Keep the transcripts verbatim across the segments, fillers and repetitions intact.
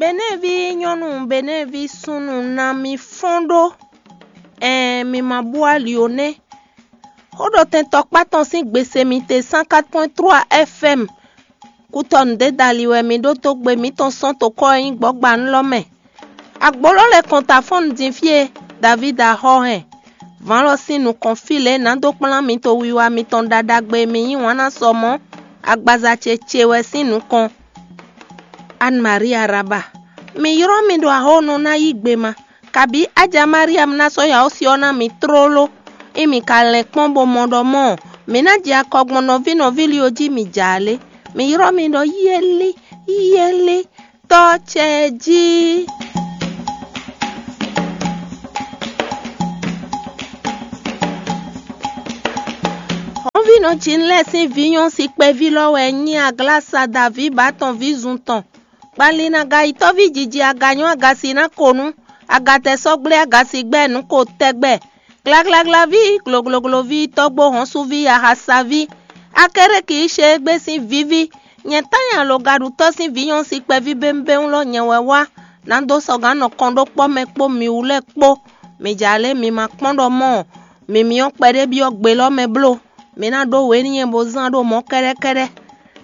Benɛ́ɛví nyɔ́nu, Benɛ́ɛví súnnu ná mi fɔ́n ɖó. Ɛɛn, mi ma bú ali ó nɛ́. Xó ɖo tɛn tɔkpá tɔn sín gbese mi te cent quatre point trois F M. Kútɔnu dé dali wɛ mi ɖótó gbe mǐtɔn sɔ́n tokɔ́ e nyí gbɔ̌gbanú lɔ mɛ. Agboló lɛ́ kɔn ta fɔ́n din fí e Davídi axɔ́ hɛn. Vǎn lɔ sín nukɔn fí lě nǎ dó kplán mi to wiwa mitɔn ɖaɖagbe e mi yí wǎn ná sɔ mɔ̌ agbaza ce ce wɛ sín nukɔn. Anne Marie Araba, mi ylɔ́ mì ɖo axɔ́ nɔ ná yí gbe ma, kabǐ Aja Mariam ná sɔ́ yawɔ́si ɔ́ ná mi tlóló. Ée mi ka lɛn kpɔ́n bó mɔ ɖɔ mɔ̌, mǐ ná jɛ akɔ gbɔn nɔví nɔví lí ɔ́ jí mi jɛ alě. Mi ylɔ́ mì ɖɔ yɛ́lí, yɛ́lí, tɔ́ ce jí. Hɔnvínɔ Jinlɛ́ɛ sín vǐ nyɔ́ si kpɛví lɔ wɛ nyí Aglasa Daví bǎ tɔn ví zun tɔn. Kpali na gayitɔ́ví jiji aganyɔ́ agasi ná ko nú agatɛsɔ́gblé agasi gbɛ́ nǔ ko tɛgbɛ. Glaglaglaví, gloglogloví, tɔ́gbó hɔnsuví, ahasaví, Akéréki Ísheégbé sín víví, nyɛ Tányi alogaɖutɔ́ sín vǐ nyɔ́ si kpɛví bémbéwún lɔ nyɛ wɛ wá, nǎ dó sɔgǎn nɔ kɔn ɖó kpɔ́ mɛ kpó mǐ wú lɛ́ɛ kpó. Mi jɛ alě mi ma kpɔ́n ɖɔ mɔ̌, mǐ myɔ kpɛɖé byɔ́ gbe lɔ́ mɛ bló. Mi ná ɖó wě n'i nyɛ bó zán ɖó mɔ̌ kɛ́ɖɛ́kɛ́ɖɛ́.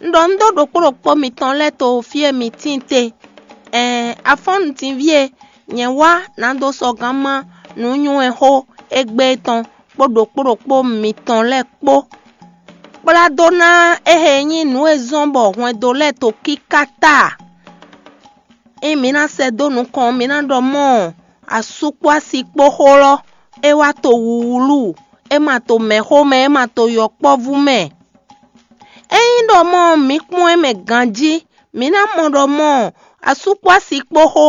Un ɖɔ un ɖó ɖokpó ɖokpó mitɔn lɛ́ɛ to fí e mi tíin te. Ɛɛn, afɔ́nnutinví e, nyɛ wá nǎ dó sɔgǎn má nǔnywɛ́xó égbé tɔn kpó ɖokpó ɖokpó mitɔn lɛ́ɛ kpó. Kplá dó ná éhe nyí nǔ e zɔ́n bɔ hwɛndo lɛ́ɛ to kíká ta. Ée mi ná sɛ́ dó nukɔn, mi ná ɖɔ mɔ̌, asú kpó asi kpó xó lɔ, é wá to wuwlú, é ma to mɛ̌xó mɛ, é ma to yɔkpɔ́vú mɛ. Ényí ɖɔ mɔ̌ mi kpɔ́n ɛ mɛ ganjí, mi ná mɔ ɖɔ mɔ̌, asú kpó asi kpó xó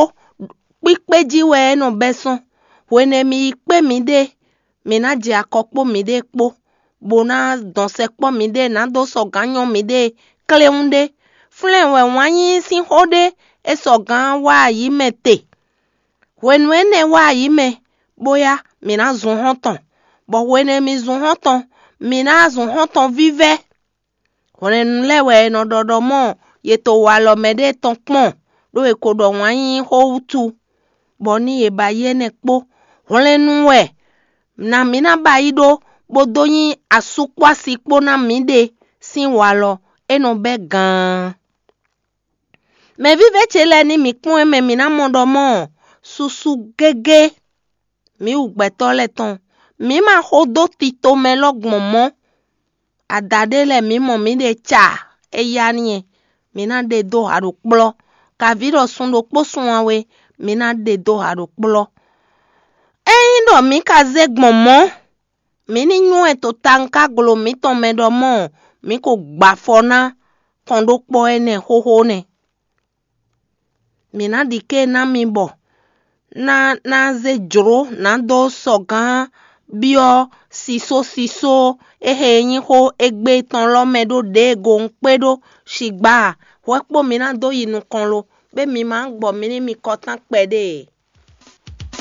kpíkpé jí wɛ é nɔ bɛ́ sɔ́n. Hwenɛ́ mi yi kpé miɖée, mi ná jɛ akɔ kpó miɖée kpó, bó ná dɔn sɛkpɔ́ miɖée nǎ dó sɔgǎn nyɔ́ miɖée kléwún ɖé. Flɛ́n wɛ wǎn yíyí sín xó ɖé é sɔgǎn wá ayǐ mɛ te. Hwenu énɛ́ wá ayǐ mɛ, bóyá mǐ ná zun xɔ́ntɔn, bɔ hwenɛ́ mi zun xɔ́ntɔn, mǐ ná zun xɔ́ntɔn vívɛ́. Hwlɛ́nnu lɛ́ɛ wɛ è nɔ ɖɔ ɖɔ mɔ̌, yě to walɔ mɛɖée tɔn kpɔ́n, ɖó è ko ɖɔ wǎn yíyí xó wútu, bɔ ní yě ba yi énɛ́ kpó. Hwlɛ́nnu wɛ nǎ mǐ ná ba yi ɖó, bó dó nyí asú kpó asi kpó ná mǐɖée sín walɔ, é nɔ bɛ́ gaan. Mɛvívɛ́ ce lɛ́ɛ ní mǐ kpɔ́n ɛ mɛ mǐ ná mɔ ɖɔ mɔ̌, susu gégé mǐ wu gbɛtɔ́ lɛ́ɛ tɔn. Mǐ ma xo dó tito mɛ lɔ gbɔn mɔ̌. Ada ɖé lɛ́ɛ mǐ mɔ mǐɖée ca, é yá n'i, mǐ ná ɖe dó ha ɖo kplɔ́. Kaví ɖɔ sun ɖokpó sun awe, mǐ ná ɖe dó ha ɖo kplɔ́. Ényí ɖɔ mǐ ka zé gbɔn mɔ̌, mǐ ní nywɛ́ to tawun ká glo mǐtɔn mɛ ɖɔ mɔ̌, mǐ ko gbɔ afɔ ná kɔn ɖó kpɔ́ énɛ́ xóxó nɛ́. Mǐ ná ɖi ké ná mi bɔ ná ná zé jlǒ nǎ dó sɔgǎn byɔ́ sisósisó éhe e nyí xó égbé tɔn lɔ mɛ ɖó ɖěe go un kpé ɖó. Sigba a, hwɛ kpó mi ná dó yi nukɔn lo, bó mi ma gbɔ mi ní mi kɔtán kpɛɖé.